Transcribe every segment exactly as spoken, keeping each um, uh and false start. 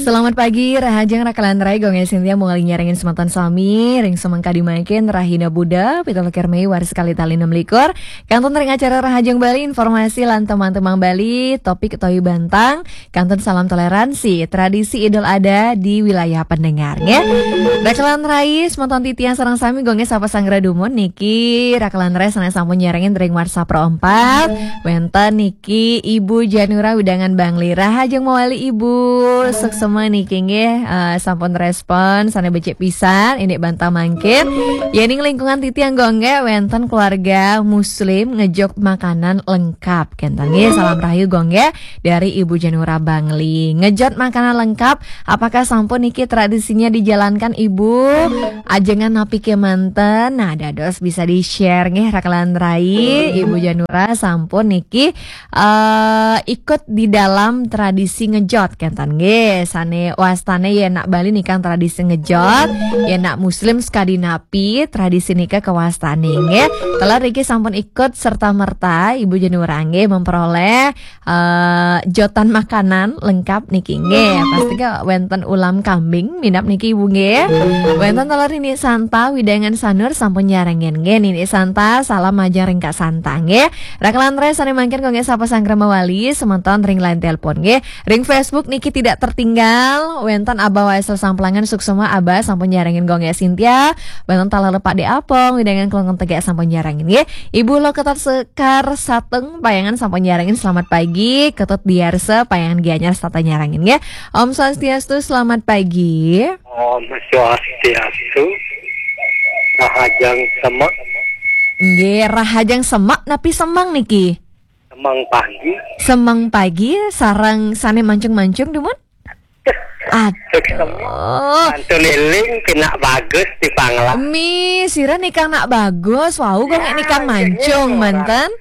Selamat pagi, rahajeng rakalan rai, Gung Sintia manggihin nyarengin semeton sami ring semeng kadi mangkin, rahina Buda, pitu likur Mei, warsa kalih tali enam likur. Kantun ring acara Rahajeng Bali, informasi lan temang-temang Bali, topik utawi bantang, kantun salam toleransi, tradisi Idul Adha di wilayah pendengar, nggih. Rakalan rai, semeton titiang sareng sami, Gung, sapa sanggra dumun niki, rakalan rai sané sampun nyarengin ring WhatsApp Pro empat, wénten niki Ibu Janura wewidangan Bangli. Rahajeng mawali Ibu, suksma niki nggih, eh, sampun respon sané becik pisan, indik bantang mangkin. Yéning lingkungan titiang, Gung, wénten keluarga muslim ngejot makanan lengkap. Kénten nggih, salam rahayu, Gung, dari Ibu Janura Bangli. Ngejot makanan lengkap, apakah sampun niki tradisinya dijalankan, Ibu? Ajengan napi kémanten? Nah, dados bisa di-share nggih, rakalan rai. Ibu Janura sampun niki, eh, ikut di dalam tradisi ngejot, kénten nggih. Sané wastané yén nak Bali nikang tradisi ngejot, yén nak muslim sakadi napi tradisi nika kawastané nggih. Taler niki sampun ikut serta merta Ibu Janura nggih memperoleh eh, jotan makanan lengkap niki nggih. Pasti ke wénten ulam kambing minab niki Ibu nggih. Wénten taler Nini Santa wewidangan Sanur sampun nyarengin nggih. Nini Santa, salam majeng ring Kak Santa nggih. Rakalan rai sané mangkin, Gung, sapa sanggra mawali semeton ring line telepon nggih. Ring Facebook niki tidak tertinggal, wénten Abah Waisel Samplangan, suksma Abah sampun nyarengin, Gung Sintia. Wénten taler Pak De Apong wewidangan Klungkung Tegak sampun nyarengin nggih. Ibu Loketar Sekar Sateng Payangan sampun nyarengin, selamat pagi. Ketut Diarsa Payangan Gianyar setata nyarengin nggih. Om Swastiastu, selamat pagi. Om Swastiastu. Rahajeng semek. Nggih, rahajeng semek napi semeng niki? Semeng pagi. Semeng pagi sareng sané mancung-mancung dumun? Aduh. Mantun éling, pinak bagus di Panglah. Mi, sira nikang nak bagus, wau, Gung, ya, nikang mancung, orang. Manten.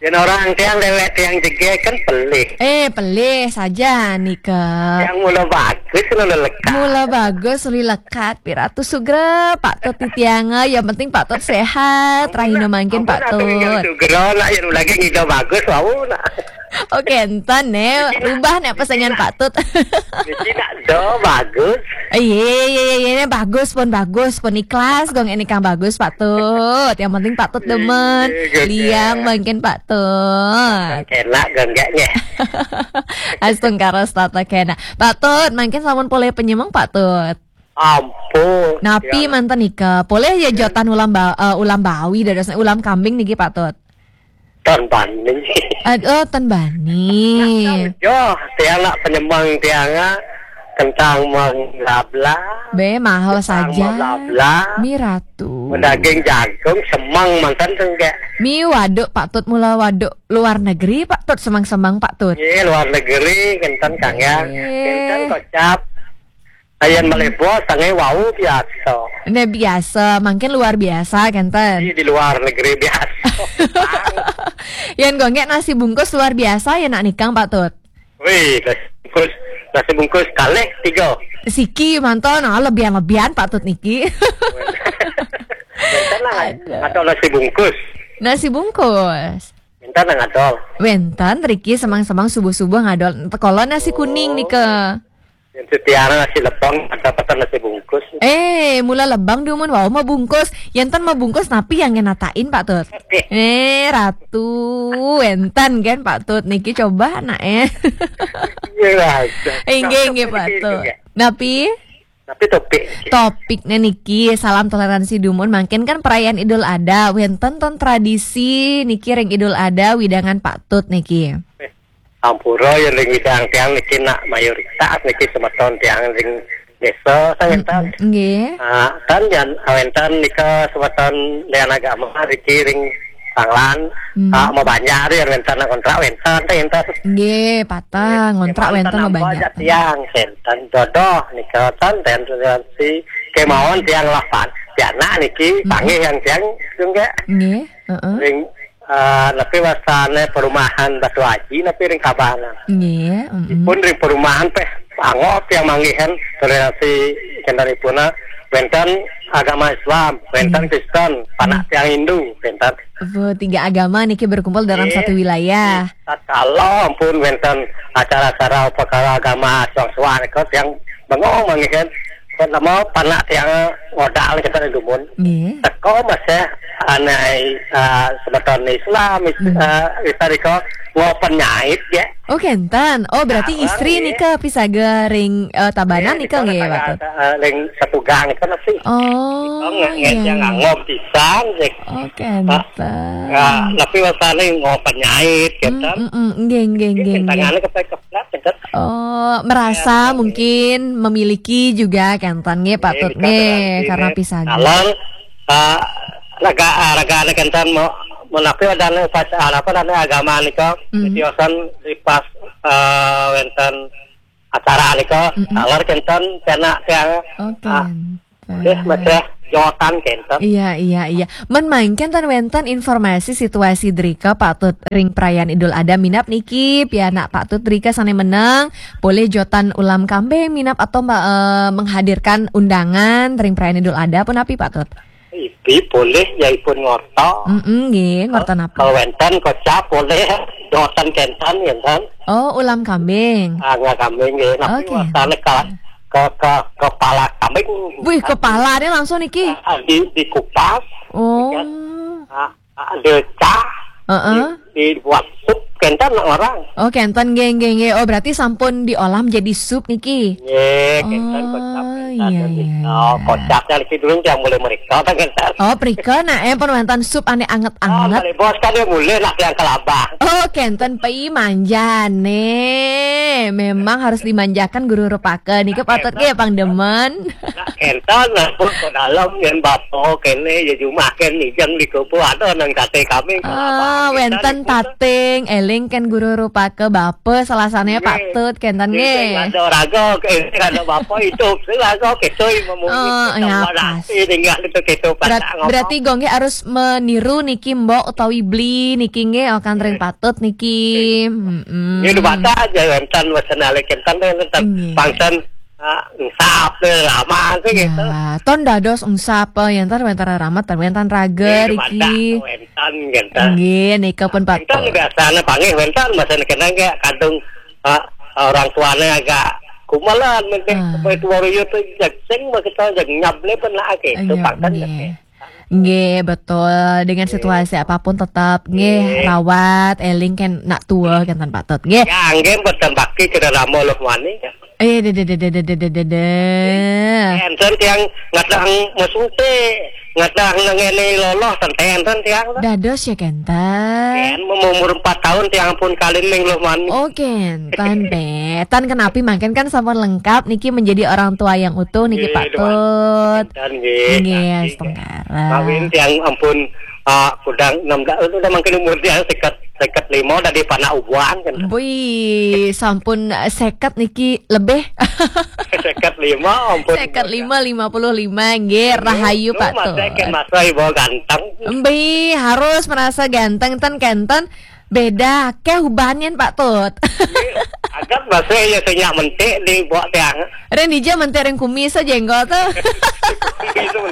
Yén orang tiang déwék tiang jegég kan pelih. Eh, pelih saja nika. Tiang mula bagus, mula lekat. Mula bagus, uli lekat, Piratu Sugra, Pak Tut titiang, yang penting Pak Tut sehat, rahina mangkin Pak Tut. Sugra, nak yén lagi ngida bagus, wau, nak. Oke, enten né, rubah né pesengan Pak Tut. Niki nak do bagus. Iya, iya, iya, iya, bagus pun, bagus pun, ikhlas, Gung, ini kang bagus, Pak Tut. Yang penting Pak Tut demen. Iya, iya. Liang mangkin Pak Tut. Kénak, Gung, nggih. Astungkara setata kénak. Pak Tut, mangkin sampun polih penyemeng, Pak Tut? Ampun. Napi manten nika? Polih ya jotan ulam ba-, eh, ulam bawi, dados ulam kambing niki, Pak Tut? Ten bani. Ad-, oh, ten bani. Yo, tiang nak penyemeng tiang, ah, kentang mengabla. Bé, mahal saja. Mengabla. Mi Ratu. Daging jagung, semeng manten tenggek. Mi waduk, Pak Tut, mula waduk luar negeri, Pak Tut, semeng-semeng, Pak Tut. Iya, luar negeri, kenten kang ya. Iya. Kenten kocap. Ayan malih bos, sangai wau biasa. Né biasa, mangkin luar biasa, kenten. Di, di luar negeri biasa. Yan gonggek nasi bungkus luar biasa ya nak nikang, Pak Tut. Wih, nasi bungkus, nasi bungkus kalih tiga. Siki manton, ah, lebihan-lebihan, Pak Tut niki. Wénten lah, aduh. Atau nasi bungkus. Nasi bungkus. Wénten nang adol. Wénten, riki semang-semang subuh-subuh ngadol. Kalau nasi kuning nika. Yang setiara nasi lepang, ada pesan nasi bungkus. Eh, mula lebang dumun wau mabungkus. Yenten mabungkus napi yang ngenatain, Pak Tut? Oke. Eh, Ratu, wénten kan, Pak Tut? Niki coba, nak, eh. Iya, Raja. Inggih, inggih, Pak Tut. Napi? Tapi topik. Topiknya niki, salam toleransi dumun. Mangkin kan perayaan Idul Adha, wénten ton tradisi niki ring Idul Adha, wewidangan Pak Tut niki. Eh, ampura ya ring widang tiang niki nak mayoritas niki semeton tiang ring desa, sangetan. Mm-mm, nggih. Ah, tan yan, wénten nika semeton lian agama niki ring Panglan, hmm. Ah, mabanjar ya, wénten kontrak, wénten, wénten. Nggih, patah, ngontrak wénten mabanjar. Tiang, wénten dodoh, nika, tan, ten, si, kemawon tiang lapan. Tiang nak niki, hmm. Panggih yang tiang, juga. Nggih, heeh. Ring, ah, napi wastane perumahan Batu Aji, napi ring Tabanan. Nggih, heeh. Pun ring perumahan, peh, anggok tiang manggihan, toleransi, kendalipun, ah, wénten agama Islam, wénten Kristen, panak tiang Hindu, wénten. Tiga agama niki berkumpul dalam satu wilayah. Kalau ampun wénten acara-acara perkara agama suang-suang nika tiang bengong manggihin. Nama panak tiang ngodal kita di dumun. Teko masih ané uh, semeton Islam, uh, kita riko ngopen nyait ya. Oh kenten. Oh berarti istri nika pisaga ring uh, tabanan nika nggih Pak Tut. Ring setugang itu sih. Oh iya. Ngomong pisan sih. Oh kenten. Nah, tapi wasane ngopen nyait kenten. Nggih nggih nggih. Tangane kepekeplat kenten. Oh, merasa mungkin memiliki juga kenten nggih Pak Tut nggih karena pisaga. Kalau uh, raga raga ada kenten mau menapi ada upacara apa ada agama nika tiosan di pas uh, wénten acara nika taler kenten kena tiang Oke. Deh, masih jotan kenten. Iya iya iya. Men mangkin ten wénten informasi situasi drika Pak Tut ring perayaan Idul Adha minap niki pianak Pak Tut drika sané meneng boleh jotan ulam kambing minap atau uh, menghadirkan undangan ring perayaan Idul Adha pun api Pak Tut. Ipi boleh ya ipun ngorto. Mm nggih, ngorto napa? Kalau wénten kocap boleh jotan kenten ya kan. Oh, ulam kambing. Ah, nggak kambing nggih. Tapi Oke. Wasane ke, ke, ke kepala kambing. Wih, kepalanya langsung niki. Ah, di dikupas, Oh. ah, ah, dicah, Heeh. di, dibuat sup kenten orang. Oh, kenten nggih nggih nggih. Oh, berarti sampun diolah menjadi sup niki. Nggih, kenten Oh, kocap. iya, iya. Oh, kocapnya niki dulu yang mulai mereka kenten. Oh, prika nak eh pun wénten sup ané Ah, anget-anget. Bos kan dia mulai nak yang kelabah. Oh, kenten pi manjane. Memang harus dimanjakan guru rupaka. Niki patut nggih pang demen. Nah, kenten lah pun ke dalam yang bapak kene ya jumah ken nijang di kubu ada nang kate kami. Ah, wénten tating, eling kan guru rupaka bapa salah satunya Pak Tut kenten nggih. Ada raga, eh, ada bapak hidup. Saya raga kita memungkinkan Oh, ya, tinggal itu kita Berat, berarti gue nggih harus meniru niki mbok utawi beli niki nggih akan ring Pak Tut niki. Mm-mm. Ini udah baca aja wénten wénten alek kenten wénten Nggih. Pangten ah, ngsap deh lama sih gitu. Ya, ton dados ungsap ya ntar wénten ramat dan wénten raga Ini udah baca riki. Wénten gitu. Nggih, nika pun Pak Wénten Tut. Biasanya panggil wénten masa kena kayak kadung ah, orang tuanya agak kumalan mungkin Ah. Sampai tua ruyut tuh jagsing begitu jag nyable pun lah gitu Iya, pangten nggih. gitu. Nggih, betul. Dengan situasi apapun tetap nggih rawat, eling kan nak tua kan Pak Tut. Nggih. Ya, nggih mboten bakti kira ramo loh mani. Eh, de de de de de de de de de. Enten tiang ngadang mesute, ngadang nengene loloh tenten enten tiang. Dados ya kenten. Yen umur empat tahun tiang pun kalin ning loh mani. Oh, kenten be. Tan kenapi mangkin kan sampun lengkap niki menjadi orang tua yang utuh niki Nggih, Pak Dewan. Tut. Dan nggih. Nggih, Nggih. setengkara. Kawin tiang ampun ah, kudang enam belas itu udah makin umur tiang seket seket lima dari panak ubuan kan. Bui, sampun eh, seket niki lebih. Seket lima ampun. Seket lima, lima puluh lima nggih, rahayu Pak Tut. Masa kan masa ibu ganteng. Mbi harus merasa ganteng ten kenten beda ke hubanin Pak Tut. Agak masa ya senyak mentik di bawah tiang. Ren dija mentik ring kumis aja enggak tuh. Itu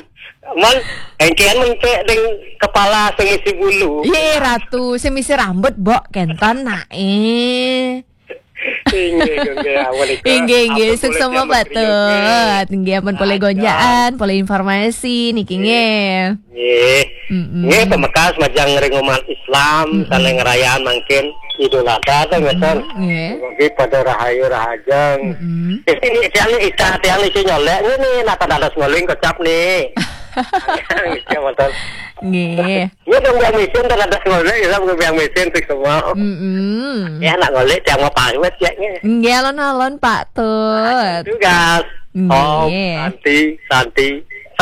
man engkian mentik ding kepala sing isi bulu. Ye ratu, semisi rambut bok kenten nak eh. Inggih, inggih, awal itu. Inggih, inggih, Ampun, suksma boleh Pak Tut. Inggih, ampun polih gonjaan, polih informasi niki nggih. Nggih. Mm-mm. Nggih, pemekas majang ring umat Islam, sana ngerayan mungkin Idul Adha tuh ngeten. Nggih. Bagi pada rahayu rahajeng. Mm-mm. Ini tiang ita tiang isi nyolek ini nata dadas ngoling kecap nih. Iya betul. Nggih. Iya dong yang misin dan dadas ngoling kita bukan yang misin fix semua. Mm-mm. Ya nak ngoling tiang mau pawit ya nih. Nggih alon-alon Pak Tut. Tugas. Om Nggih. Santi Santi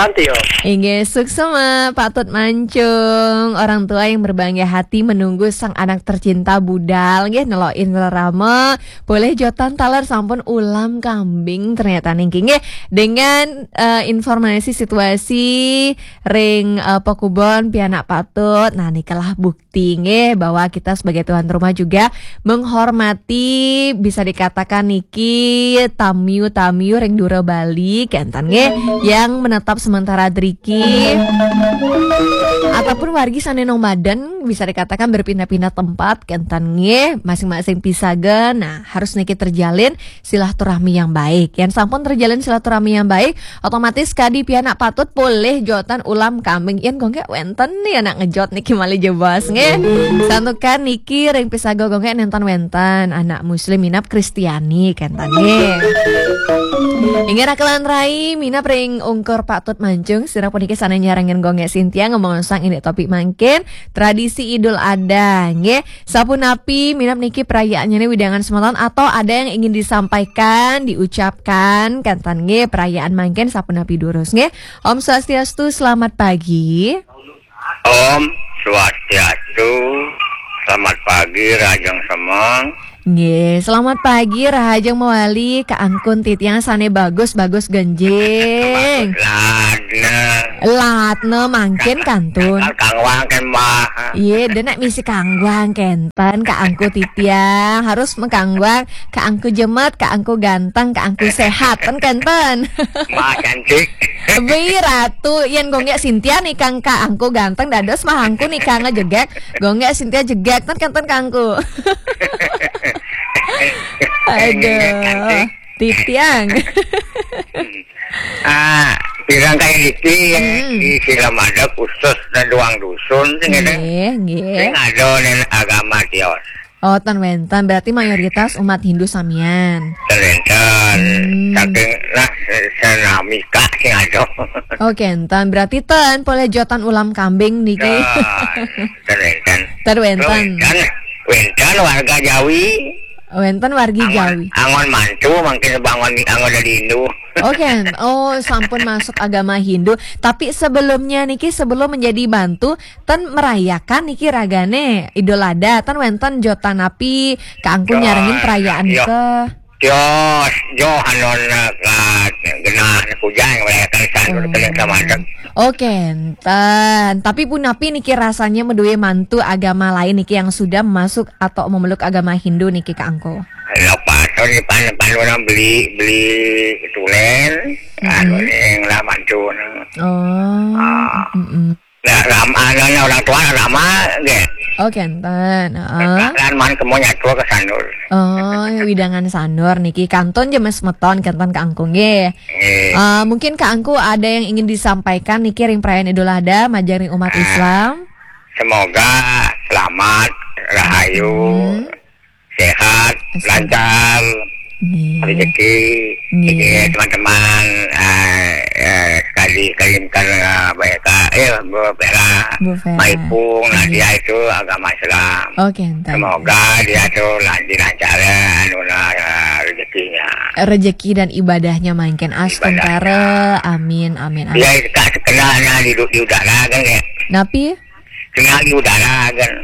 Tantio. Inggih, suksma, Pak Tut Mancung. Orang tua yang berbangga hati menunggu sang anak tercinta budal, nggih, nelokin rerama. Polih jotan taler sampun ulam kambing ternyata niki, nggih. Dengan, eh, informasi situasi ring, eh, pokubon pianak Pak Tut. Nah, nikalah bukti, nggih, bahwa kita sebagai tuan rumah juga menghormati, bisa dikatakan niki, tamiu-tamiu ring dura Bali, kenten, nggih, yang menetap sementara driki, ataupun wargi sane nomaden, bisa dikatakan berpindah-pindah tempat, kenten, nggih, masing-masing pisaga. Nah, harus niki terjalin silaturahmi yang baik. Yen sampun terjalin silaturahmi yang baik, otomatis kadi pianak Pak Tut polih jotan ulam kambing. Yen kok nggih wenten nih anak ngejot niki malih jebos, nggih. Santukan niki ring pisaga kok nggih nenten wenten anak muslim minab Kristiani, kenten, nggih. Inggih, rakelan rai, minab ring ungkur Pak Tut Mancung, sira puniki sane nyarengin kok nggih Sintia ngomong sang indik topik mangkin, tradisi Idul Adha, nggih. Sapunapi minab niki perayaannya nih widangan semeton atau ada yang ingin disampaikan, diucapkan, kenten, nggih, perayaan mangkin sapunapi durus, nggih. Om Swastiastu, selamat pagi. Om Swastiastu, selamat pagi, Rajang Semang. Nggih, selamat pagi, Rahajeng mawali, Kak Angkun titiang sane bagus, bagus genjing. Ladna. Ladna mangkin kantun. Kangwang kan, Mbah. Iya, denak misi kangwang kenten, Kak Angku titiang. Harus mengkangwang, Kak Angku jemet, Kak Angku ganteng, Kak Angku sehat, ten kenten. Mbah cantik. Bi ratu, yen gonggek Sintia nih kang Kak Angku ganteng, dados mah Angku nih kang jegek. Gonggek Sintia jegek, ten kenten Kak Angku. Aduh, titiang. Ah, pirang kaya iki yang Hmm. di Silamada khusus dan doang dusun sing ada. Nggih, nggih. Sing ada ning agama tios. Oh, ten wenten. Berarti mayoritas umat Hindu samian. Ten wenten. Hmm. Saking nah, senamika sing ada. Oke, enten. Berarti ten poleh jotan ulam kambing niki. Ten, ten wenten. Ten wenten. Wenten, wenten warga Jawi. Wenten wargi Jawi. Angon mantu mungkin bangun angon dari Hindu. Oke, oh, sampun masuk agama Hindu. Tapi sebelumnya niki, sebelum menjadi bantu, ten merayakan niki ragane Idul Adha, ten wenten jotan api, Kak Angku nyarengin perayaan ke? Tios, jo anon ka genah kujang merayakan sanur keling samadeg. Oke, enten. Tapi punapi niki rasanya meduwe mantu agama lain niki yang sudah masuk atau memeluk agama Hindu niki, Kak Angku? Lepas to ni pan pan orang beli beli tulen, anu ning lah mantu. Oh. Ah. Mm-mm. Nah, ram, anu, orang tua lama nggih. Oke, enten. Heeh. Kan man kemo nyatua ke sanur. Oh, widangan sanur niki kantun jemes meton kenten Kak Angku nggih. Nggih. Eh, mungkin Kak Angku ada yang ingin disampaikan niki ring perayaan Idul Adha majeng ring umat Islam. Semoga selamat, rahayu, sehat, lancar, rezeki, nggih, teman-teman, eh, eh, sekali kirimkan, eh, baik, eh, Bu Vera, Bu Vera. Maipung, Nadia itu agama Islam. Oke, enten. Semoga dia tuh lancar, lancar, anu, nah, eh, rezekinya. Rezeki dan ibadahnya makin astungkara. Amin, amin, amin. Dia tak kenalnya di, di udara kan ya. Napi? Kenal di udara kan.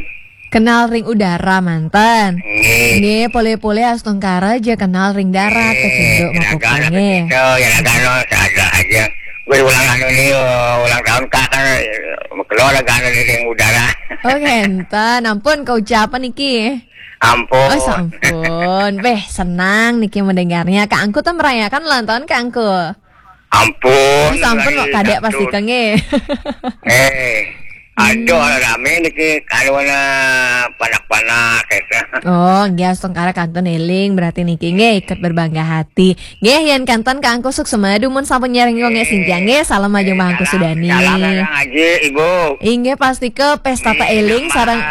Kenal ring udara manten. Nggih. Nggih, poleh-poleh astungkara aja kenal ring darat, kecunduk mah pokoknya. Kecunduk, ya kan, ada aja. Gue ulang anu nih, ulang tahun Kak kan, keluar kan ring udara. Oke, enten. Ampun, keucapan niki. Ampun. Oh, sampun. Beh, senang niki mendengarnya. Kak Angku tuh merayakan ulang tahun Kak Angku. Ampun, oh, sampun kok kadek pasti kenge. Eh, aduh, rame niki kalona panak-panak. Oh, nggih, astungkara kantun eling berarti niki nggih ikut berbangga hati. Nggih, yen kantun Kak Angku suksma dumun sampun nyarengin kok nggih Sintia nggih, salam majeng Bang Angku Sudani. Salam Kang Aji, Ibu. Inggih, pasti ke pesta eling sareng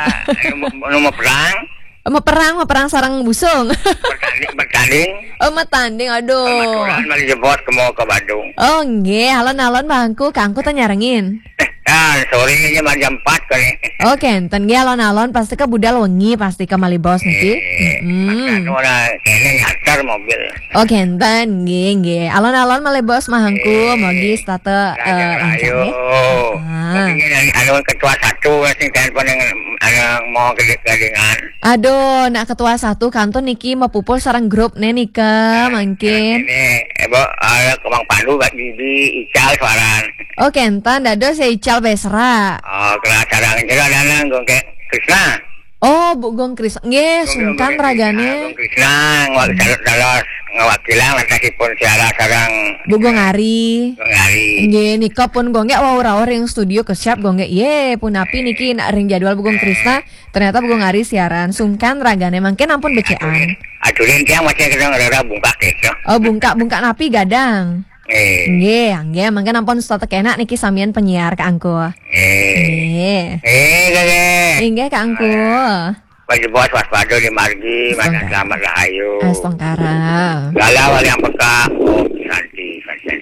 nomor perang. Meperang, meperang sareng busung. Bertanding, bertanding. Oh, metanding, aduh. Kebetulan mali jebot ke mau ke Badung. Oh, nggih, alon-alon Bang Angku, Kak Angku teh nyarengin. Sore aja jam empat kali. Oke, enten nggih alon-alon pasti ke budal wengi pasti ke malih baos niki. Eh, Hmm. Anu lah, kayaknya nyasar mobil. Oke, enten nggih nggih. Alon-alon malih baos mahangku, Eh, mogi setata eh, Raja lancar Rahayu. nggih. Ah. Mungkin yang anu ketua satu sing telepon yang anu mau gede gadingan. Aduh, nak ketua satu kantun niki mapupul sareng grup ne nika mangkin. Ini, eh, bo, ada Kemang Pandu, Kak Didi, Ical, Suaran. Oke, enten dados ya Ical Besra. Oh, kena sarang itu ada nang Gongke Krisna. Oh, Bu Gong Krisna. Nggih, sungkan ragane. Gong Krisna, ngawak dalos ngawakilan lantasipun siara sarang Bu Gong Ari. Gong Ari. Nggih, nika pun Gong nggih wau rawuh ring studio ke siap Gong nggih. Ye, punapi niki nak ring jadwal Bu Gong Krisna. Ternyata Bu Gong Ari siaran. Sungkan ragane mangkin ampun becekan. Aturin tiang masih kena ngerara bungkak itu. Oh, bungkak-bungkak napi gadang. Eh, Nggih, nggih, mangkin ampun setata kenak niki samian penyiar Kakangku. eh, Nggih. Eh, kakek. Inggih Kakangku. Baju bos waspada di margi, mana Astungkara. Selamat Rahayu. Astungkara. Galau yang peka, Om Santi, Santi.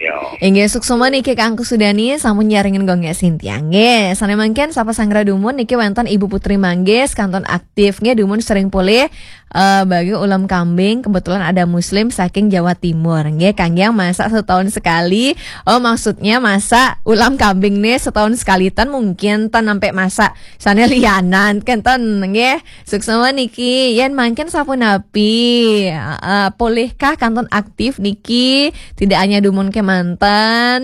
Inggih suksma niki Kakangku Sudani sampun nyarengin Gong nggih Sintia. Nggih, sane mangkin sapa sanggra dumun niki wenten Ibu Putri Manggis kantun aktif nggih dumun sering polih eh, bagi ulam kambing kebetulan ada muslim saking Jawa Timur. Nggih, kangge masak setahun sekali. Oh, maksudnya masak ulam kambing nih setahun sekali tan mungkin tan sampai masak. Sane lianan kenten nggih. Suksma niki yen mangkin sapunapi uh, polihkah kantun aktif niki tidak hanya dumun kemanten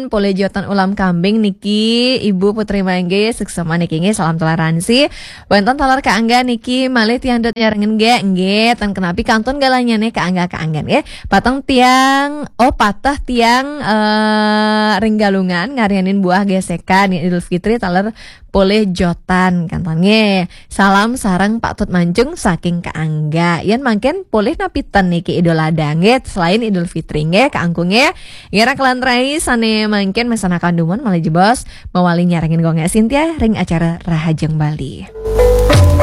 polih jotan ulam kambing niki Ibu Putri Mangge suksma niki nggih salam toleransi. Wenten taler kaangga niki malih tiang dot nyarengen nggih nggih ten kenapi kantun galanya nih kaangga kaangga nggih pateng tiang oh patah tiang uh, ring Galungan ngarianin buah gesekan Idul Fitri taler polih jotan kantun nggih. Salam sareng Pak Tut Mancung saking Kaangga. Yen mangkin polih napi ten niki Idul Adha nggih selain Idul Fitri nggih Kakangku nggih. Ngira kelan rai sane mangkin mesanakan dumun malih jebos mawali nyarengin Gong nggih Sintia ring acara Rahajeng Bali.